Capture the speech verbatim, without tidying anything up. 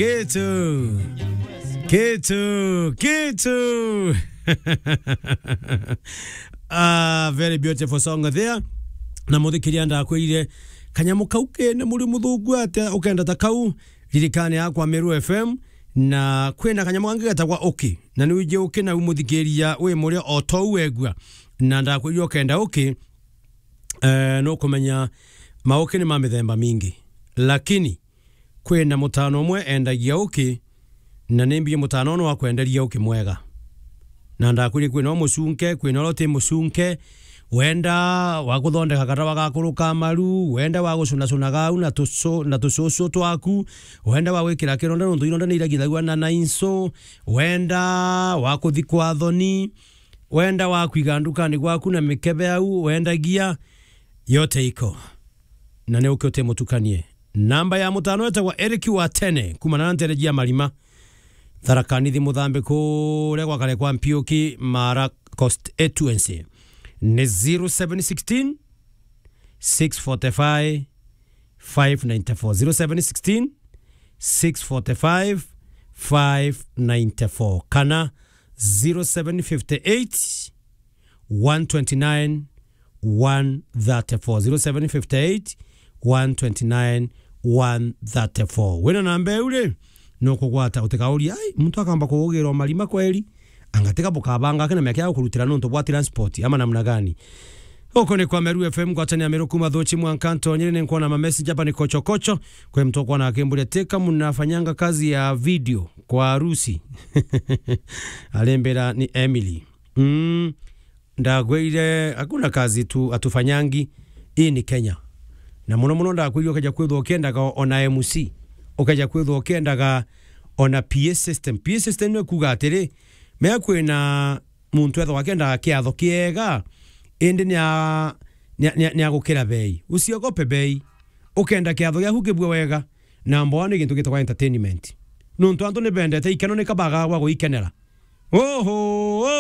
Kitu. Kitu. Kitu. Ah, very beautiful song there. Na muthikiria ndakwirire kanyamu kau kene muri muthungu atia ukenda ta kau, ririkane yakwa Meru F M, na kwina kanyamu kangi getagwa Uki. Na ni wiji Uki na umuthikiria wi muria o tou wegua. Na ndakwirire ukenda Uki, eh, nukumenya mauki ni ma mithemba mingi. Lakini kwina mutano umwe endagia uki, na ni mbi mutano uno wa kwenderia uki mwega. Na ndakwiri kwina umucunke, kwina uria uti mucunke, wenda wa kuthondeka katawa ga kuruka maru, wenda wa gucunacuna gau na tucu-, na tucucu twaku, wenda wa gwikira kironda nontu ironda ni iragithagua na, na inso, wenda wa kuthikwa thoni, wenda wa kwiga ndukani gwaku na mikebe au wendagia, yote iko. Na ni uki uti mutukanie. Namba ya mutano etagwa Eric wa Tene, kuma na ntereji ya Marima. Tharaka Nithi Muthambi kuria gwa kare kwa Mpiuki, Mara Constituency. Ni zero seven sixteen, six forty-five, five ninety-four. Zero seven sixteen, six forty-five, five ninety-four. Kana zero seven fifty-eight, one twenty-nine, one thirty-four. Zero seven fifty-eight, one twenty-nine, one thirty-four. Wina namba iu ri, nukugwata, utikauria, "Ai, muntu akamba kuugirwa Marima kweri?" Anga tiga bukabanga kina miaka ya kurutira nontu bwa transport, ama namna gani? Uko ni kwa Meru F M, ngwatania Meru kuma Thuchi mwanka Ntonyere, ni nkuona ma message hapa ni kochokocho. Kwe mtu akwana akimburia, "Teka mnafanyanga kazi ya video kwa harusi?" Alembera ni Emily. Mm, ndagwire, hakuna kazi tu, hatufanyangi. Hii ni Kenya. Na muno muno ndagwire ukeja kwithwa ukiendaga ona M C, ukeja kwithwa ukiendaga ona P A system. P A system ni kuuga atiri, mea kwina muntu ethagwa akiendaga kiatho kiega, indi ni a-, ni a-, ni a-, ni agukira bei. Usiogope bei. Ukenda kiatho giaku kibue wega, number one ni gintu gitagwa entertainment. Nontu antu ni bendete ikeno, ni kabaga gwa guikenera. Oho!